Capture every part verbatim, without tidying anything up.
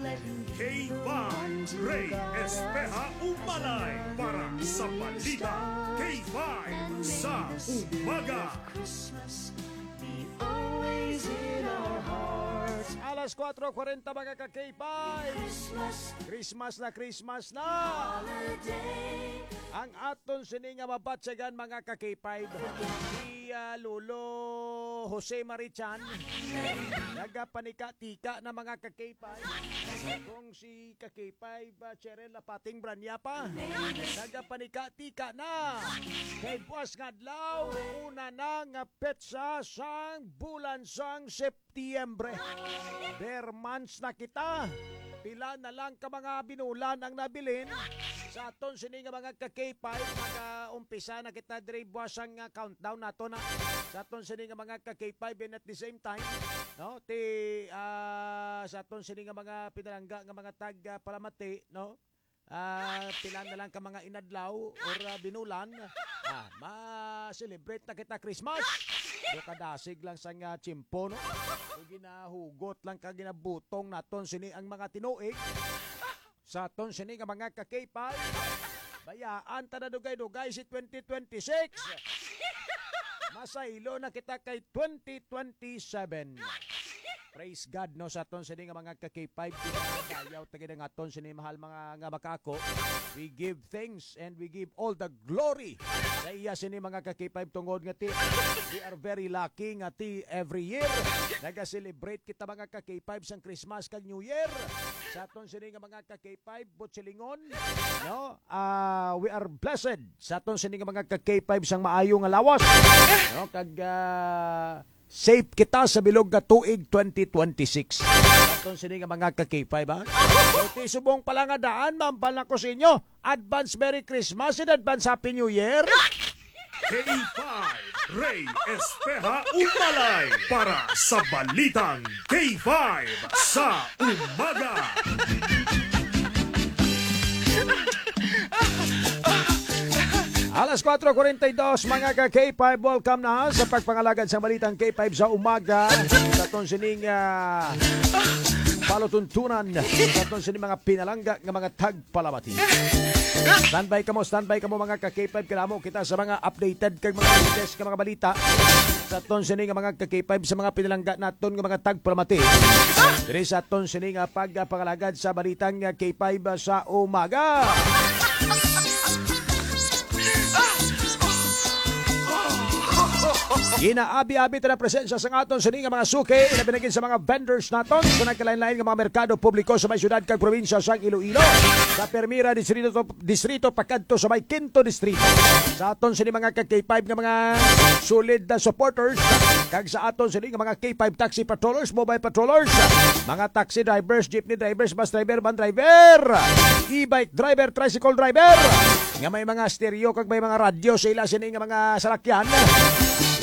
K five, Ray Espeha Umalay para sa balita. K five sa umaga. Alas kuwatro kwarenta, mga ka-K five. Christmas na Christmas na. Ang aton sini nga mabatyagan, mga ka-K five, si, ah, Lolo Jose Marichan. Nagapanika-tika na, mga ka-K five. Kung si ka-K five, ah, Cheryl Lapating Branya pa, nagapanika-tika na. Kay buwas nga adlaw, una na nga petsa sang bulan sang September. Ber months na kita. Pila na lang ka mga binulan ang nabilin sa aton sini nga mga ka-K five. Nag-umpisa na kita diri buwas ang, ah, countdown nato na sa aton sini nga mga ka-K five, and at the same time, no, ti, ah, sa aton sini nga mga pinalangga nga mga tag, ah, palamati, no? Ah, pila na lang ka mga inadlaw or, ah, binulan, ah, ma-celebrate na kita Christmas. Do kadasig lang sang, ah, tiyempo, no? Do ginahugot lang ka ginabutong naton sini ang mga tinuig. Sa aton sini nga mga ka-K five, bayaan ta na dugay-dugay si twenty twenty-six. Masaylo na kita kay twenty twenty-seven. Praise God, no, sa aton sini nga mga ka-K five, dayaw ta gid ang aton sini mahal mga nga makako. We give thanks and we give all the glory sa iya sini mga ka-K five, tungod nga ti, we are very lucky nga ti every year naga-celebrate kita mga ka-K five sang Christmas kag New Year. Sa aton sini nga mga ka-K five, Butchilingon, no? Ah, we are blessed sa aton sini nga mga ka-K five sang maayo nga lawas, no? Kag, ah, safe kita sa bilog nga tuig twenty twenty-six. Aton sini nga mga ka-K five, ha? So, ti subong pala nga daan, mambal na ko sa inyo. Advance Merry Christmas and advance Happy New Year. K five, Ray Espeha Umalay para sa Balitang K five sa Umaga. Alas kuwatro kwarenta y dos, mga ka-K five, welcome na sa pagpangalagad sa Balitang K five sa Umaga. Sa aton sining, ah, palutuntunan, sa aton sining mga pinalangga nga mga tagpalamati. Standby kamo, standby kamo, mga ka-K five, kay amo kita sa mga updated kag mga latest nga mga balita sa aton sini nga mga ka-K five, sa mga pinalangga naton nga mga tagpalamati. Diri sa aton sini nga pagpangalagad sa Balitang K five sa Umaga. Ginaabi-abi ta na presensya sa aton sini nga mga suki, ilabi na gid sa mga vendors naton sa nagkalain-lain nga mga merkado publiko sa may syudad kag probinsya sang Iloilo, sa Primera Distrito, Distrito pakadto sa may Quinto Distrito. Sa aton sini mga ka-K five nga mga solid na supporters, kag sa aton sini nga mga K five taxi patrollers, mobile patrollers, mga taxi drivers, jeepney drivers, bus driver, van driver, e-bike driver, tricycle driver, nga may mga stereo kag may mga radyo sa ila sini nga mga salakyan.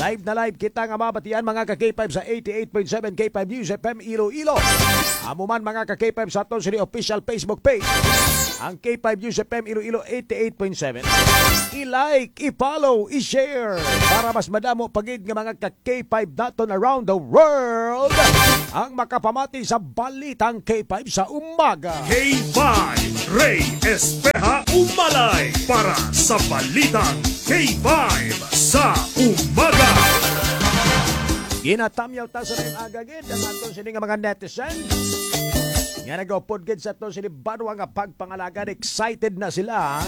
Live na live kita nga mabatian, mga ka-K five, sa eighty-eight point seven K five News F M Iloilo. Amo man, mga ka-K five, sa aton sini official Facebook page, ang K five News F M Iloilo eighty-eight point seven. I-like, i-follow, i-share para mas madamo pa gid nga mga ka-K five naton around the world ang makapamati sa Balitang K five sa Umaga. K five, Ray Espeha Umalay para sa Balitang K five sa Umaga. Ginatamyaw ta sa mga agagid ang aton sini nga mga netizen nga nagaupod gid sa aton sini banwa nga pagpangalagad. Excited na sila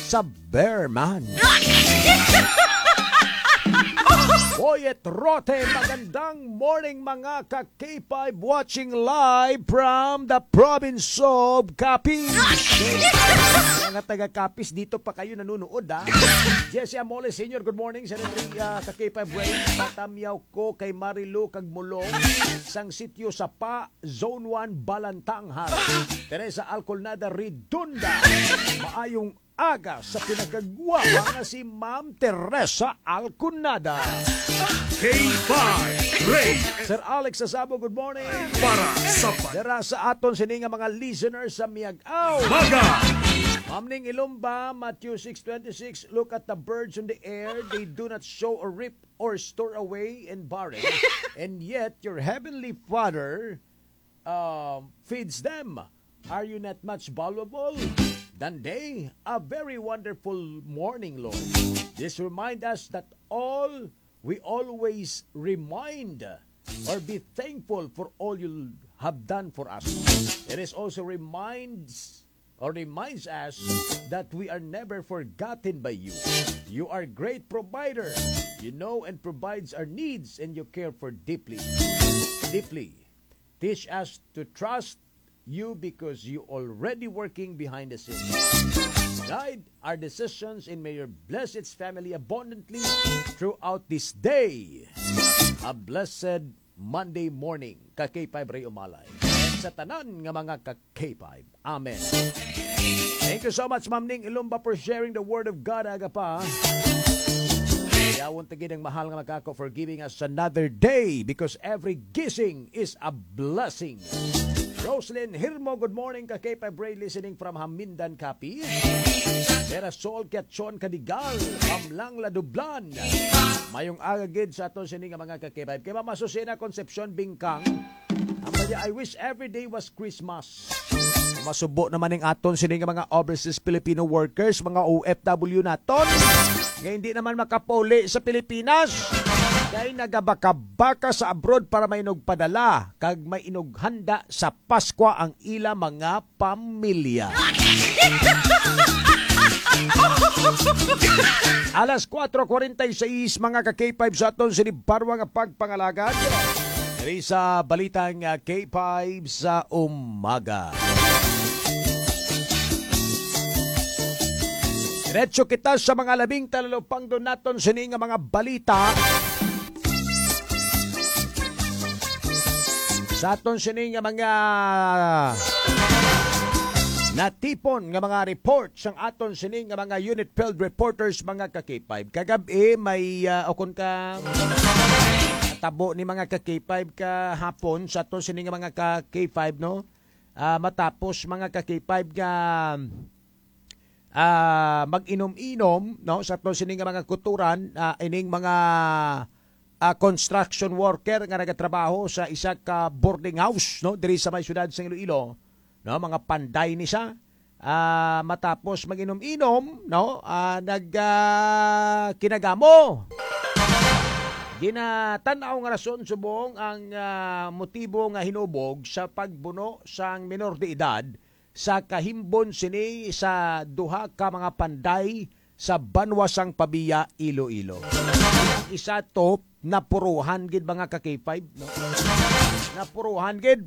sa Bearman. Boyet Rote, magandang morning, mga ka-K five, watching live from the province of Capiz. Mga taga Capiz, dito pa kayo nanonood, ha? Jesse Amole Senior, good morning. Sa uh, ka-K five Rain, patamyaw ko kay Marilu kag Mulong sang Sitio Sapa, Zone one, Balantanghal. Teresa Alcolnada Redonda, maayong aga sa pinakagwapa nga si Ma'am Teresa Alconada. K five Ray. Sir Alex Sasabo, good morning. Para sa pa- Dira sa aton sini nga mga listeners sa Miag-aw. Maga. Ma'am Ning Ilumba, Matthew six twenty-six, "Look at the birds in the air, they do not sow or reap or store away in barns, and yet your heavenly Father um, feeds them. Are you not much valuable than they? A very wonderful morning, Lord. This remind us that all we always remind or be thankful for all you have done for us. It is also reminds or reminds us that we are never forgotten by you. You are great provider. You know and provides our needs, and you care for deeply, deeply. Teach us to trust you because you already working behind the scenes. Guide our decisions and may you bless its family abundantly throughout this day. A blessed Monday morning, ka K five Ray Umalay. And sa tanan nga mga ka K five. Amen. Thank you so much, Ma'am Ning Ilumba, for sharing the word of God, aga pa. Yawon ta gid ang mahal nga makako for giving us another day, because every gising is a blessing. Roslyn Hirmo, good morning, ka K five Ray, listening from Hamindan, Capiz. Vera Sol Kiachon Kadigal, Pamlang Ladublan. Mayong aga gid sa aton sini nga mga ka K five. Kay Mama Susina Concepcion Bingkang, ang kanya, "I wish every day was Christmas." Masubo naman ning aton sini nga mga overseas Filipino workers, mga O F W naton, nga hindi naman makapuli sa Pilipinas. Kay nagabaka-baka sa abroad para may inugpadala, kag may inughanda sa Paskwa ang ila mga pamilya. Alas kuwatro kuwarenta y seis, mga ka K five, sa aton sini barwa nga pagpangalagad. Diri sa balitang, ah, K five sa umaga. Diretso kita sa mga labing talalupangdon naton sini nga mga balita. Sa aton sini nga mga natipon nga mga report sang aton sini nga mga unit field reporters, mga ka K five. Kagab-i may, ah, o kon ka tabo ni mga ka K five kahapon sa aton sini nga mga ka K five, no? Ah, matapos mga ka K five nga ah, mag-inom-inom, no, sa aton sini nga mga kutoran, ah, ining mga, ah, construction worker nga nagatrabaho sa isa ka boarding house, no, diri sa may siyudad sa Iloilo, no, mga panday ni siya. Ah, matapos mag-inom-inom, no, ah, nag, ah, kinagamo. Ginatan-aw nga rason subong ang, ah, motibo nga hinubog sa pagbuno sang minor de edad sa kahimbon sini sa duha ka mga panday sa banwa sang Pavia, Iloilo. Ang isa to, napuruhan gid, mga ka K five, no? Napuruhan gid.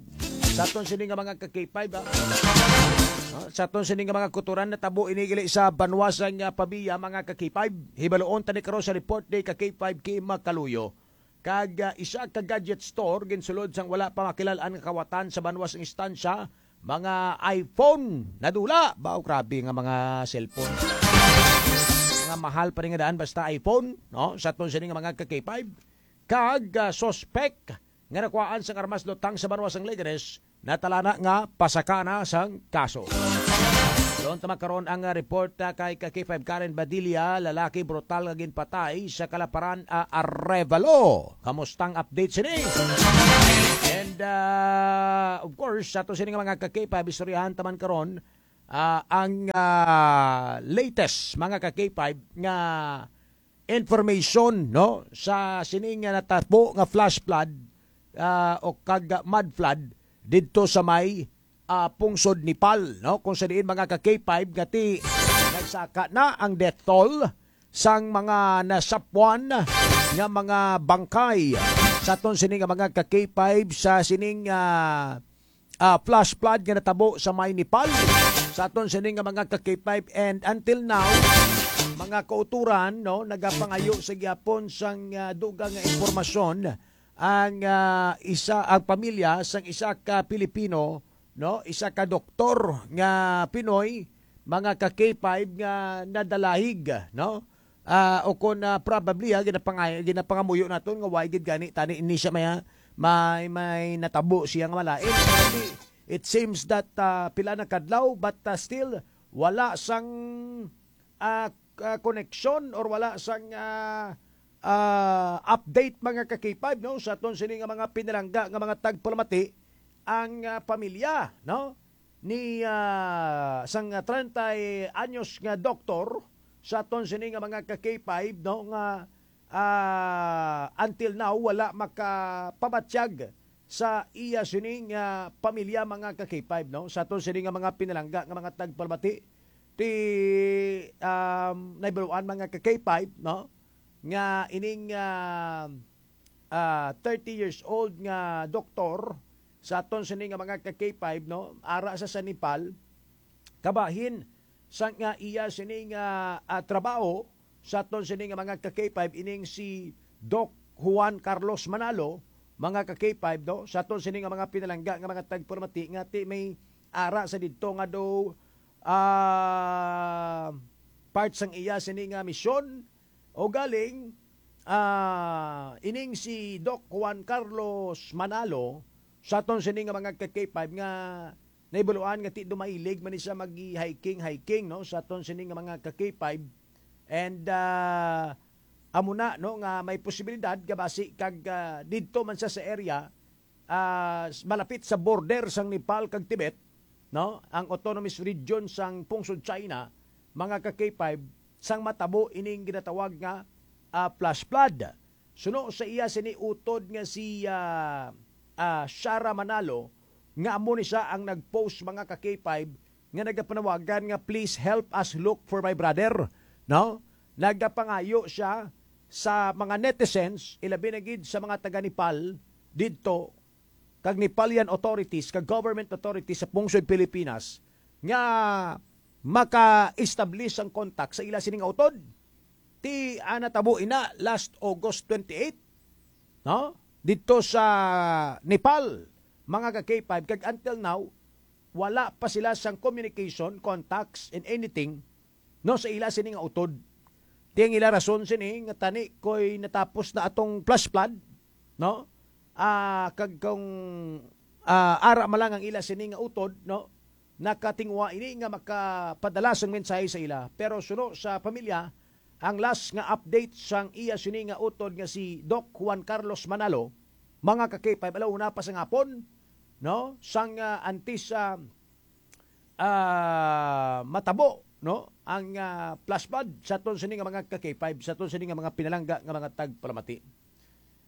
Sa aton sini nga mga ka K five, ha? No? Sa aton sini nga mga kutoran, natabo ini gali sa banwa sang, ah, Pavia, mga ka K five. Hibaluon tani karon sa report ni ka K five Kim Macaluyo. Kag, ah, isa ka gadget store ginsulod sang wala pa makilal-an nga kawatan sa banwa sang istansya, mga iPhone nadula. Ba, grabe nga mga cellphone. Mga mahal pa rin nga daan, basta iPhone, no? Sa aton sini nga mga ka K five. Kag, ah, suspek nga nakuhaan sang armas lutang sa banwa sang Leganes, natalana nga pasaka na sang kaso. Doon tama karon ang, ah, report, ah, kay ka K five Karen Badilla, lalaki brutal nga ginpatay sa Kalaparan, ah, Arevalo. Kamustang update sini? And, ah, of course, sa to sini nga mga ka K five, istoryahan taman karon, ah, ang, ah, latest, mga ka K five, nga information, no, sa sini nga natabo nga flash flood, ah, o kag mud flood didto sa may, ah, pungsod Nepal, no, kung sa diin, mga ka K five, nga ti nagsaka na ang death toll sang mga nasapwan nga mga bangkay sa aton sini nga mga ka K five sa sining, ah, ah, flash flood nga natabo sa may Nepal sa aton sini nga mga ka K five. And until now, mga kauturan, no, nagapangayo sa gyapon sang, ah, dugang nga impormasyon ang, ah, isa, ang pamilya sang isa ka Pilipino, no, isa ka doktor nga Pinoy, mga ka K five, nga nadalahig, no? Ah, o kon, ah, probably, ah, ginapangay-, ginapangamuyo naton nga why gid gani tani ini siya may, ah, may, may natabo siya nga malain. It seems that, ah, pila na kadlaw, but, ah, still wala sang, ah, ah, koneksyon or wala sang, ah, ah, update, mga ka K five, no, sa aton sini nga mga pinalangga nga mga tagpalamati ang, ah, pamilya, no, ni, ah, sang treinta anyos nga doktor sa aton sini nga mga ka-K five, no, nga, ah, until now wala makapabatyag sa iya sini nga pamilya, mga ka-K five, no, sa aton sini nga mga pinalangga nga mga tagpalamati. Ti, um, naibaluan, mga ka-K five, no, nga ining, ah, ah, thirty years old nga doktor sa aton sini nga mga ka-K five, no, ara sa, sa Nepal, kabahin sa nga iya sini nga, ah, trabaho sa aton sini nga mga ka-K five, ining si Doc Juan Carlos Manalo, mga ka-K five, no, sa aton sini nga mga pinalangga nga mga tagpalamati nga ti may ara sa didto nga do, ah, part sang iya sini nga misyon. O galing, ah, ining si Doc Juan Carlos Manalo, sa aton sini nga mga ka-K five nga naibaluan nga ti dumailig man ni siya mag-hiking-hiking, no, sa aton sini nga mga ka-K five. And, ah, amo na, no, nga may posibilidad nga basi kag, ah, didto man siya sa area, ah, s-, malapit sa border sang Nepal kag Tibet, no, ang autonomous region sang pungsod China, mga ka-K five, sang matabo ining ginatawag nga, ah, flash flood. Suno sa iya sini utod nga si, ah, ah, Shara Manalo, nga amo ni siya ang nag-post, mga ka-K five, nga nagapanawagan nga, "Please help us look for my brother," no? Nagapangayo siya sa mga netizens, ilabi na gid sa mga taga Nepal didto, kag Nepalian authorities, kag government authorities sa pungsod Pilipinas, nga maka-establish ang contact sa ila sini nga utod. Ti, ah, natabo ina last August twenty-eight, no? Didto sa Nepal, mga ka-K five, kag until now, wala pa sila sang communication, contacts, and anything, no, sa ila sini nga utod. Ti ang ila rason sini nga tani ko'y natapos na atong flash flood, no? Ah, kag kung, ah, ara man lang ang ila sini nga utod, no? Nakatinguha ini nga makapadala sang mensahe sa ila. Pero suno sa pamilya, ang last nga update sang iya sini nga utod nga si Doc Juan Carlos Manalo, mga ka-K five, alauna pa sa hapon, no? Sang, ah, antes, ah, ah, matabo, no, ang, ah, flash flood sa aton sini nga mga ka-K five, sa aton sini nga mga pinalangga nga mga tagpalamati.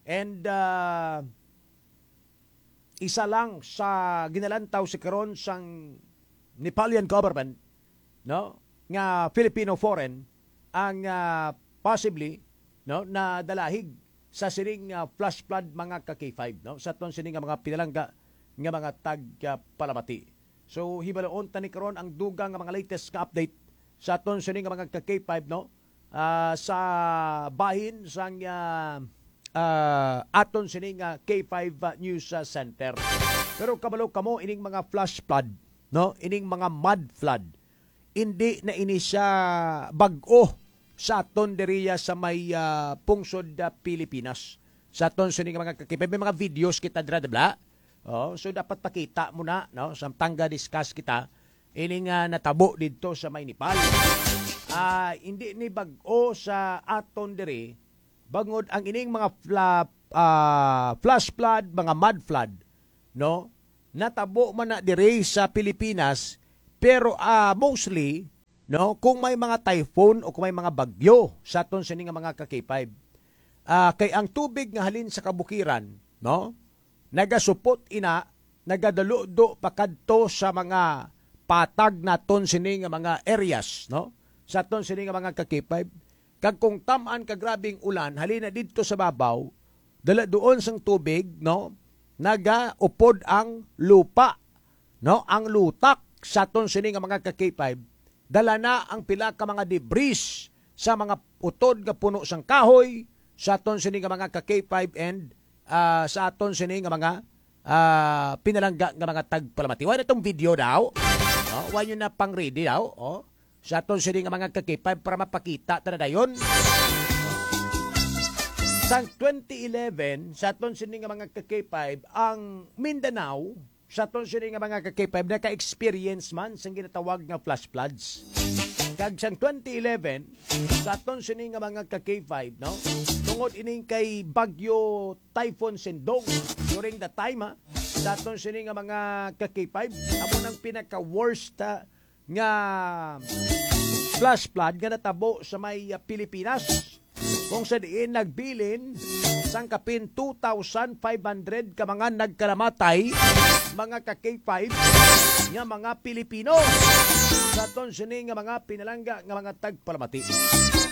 And, ah, isa lang sa ginalantaw sa karon sang Nepalian government, no, nga Filipino foreign ang, ah, possibly, no, nadalahig sa sining, ah, flash flood, mga ka-K five, no, sa aton sini nga mga pinalangga nga mga tagpalamati. So, hibaluon ta ni karon ang dugang nga mga latest nga update sa aton sini nga mga ka-K five, no? Ah, sa bahin sang, ah, ah, aton sini nga K five, ah, News, ah, Center. Pero kabalo kamo ining mga flash flood, no? Ining mga mud flood. Hindi na ini siya bag-o sa aton diriya sa may, ah, pungsod, ah, Pilipinas. Sa aton sini nga mga ka-K five, may mga videos kita dira, di ba? Oh, so dapat pakita mo na, no? Samtang ga-discuss kita, ini nga natabo didto sa may Nepal. Ah, hindi ni bag-o sa aton diri, bangod ang ining mga fla-, ah, flash flood, mga mud flood, no? Natabo man na diri sa Pilipinas, pero, ah, mostly, no, kung may mga typhoon o kung may mga bagyo sa aton sini nga mga ka-K five. Ah, kay ang tubig nga halin sa kabukiran, no, nagasupot ina, nagadulo-do pakadto sa mga patag naton sini nga mga areas, no? Sa aton sini nga mga ka-K five. Kag kung tam-an ka grabing ulan, halin na didto sa babaw, dala doon sang tubig, no? Nagaupod ang lupa, no? Ang lutak sa aton sini nga mga ka-K five, dala na ang pila ka mga debris sa mga utod nga puno sang kahoy, sa aton sini nga mga ka-K five and, ah, sa aton sini nga mga, ah, pinalangga nga mga tagpalamati. Wala tong video daw. Oh, wala nyo na pang ready daw. Oh. Sa aton sini nga mga ka-K five para mapakita ta na dayon. Sang twenty eleven, sa aton sini nga mga ka-K five, ang Mindanao, sa aton sini nga mga ka-K five, naka-experience man sang ginatawag nga flash floods. Kag sang twenty eleven, sa aton sini nga mga ka-K five, no? Tungod ining kay Bagyo Typhoon Sindong, during the time, ha, sa aton sini nga mga ka-K five, amo nang pinaka-worst, ah, nga flash flood nga natabo sa may, ah, Pilipinas, kung sa diin nagbilin sang kapin two thousand five hundred ka mga nagkalamatay, mga ka-K five, nga mga Pilipino sa aton sini nga mga pinalangga nga mga tagpalamati.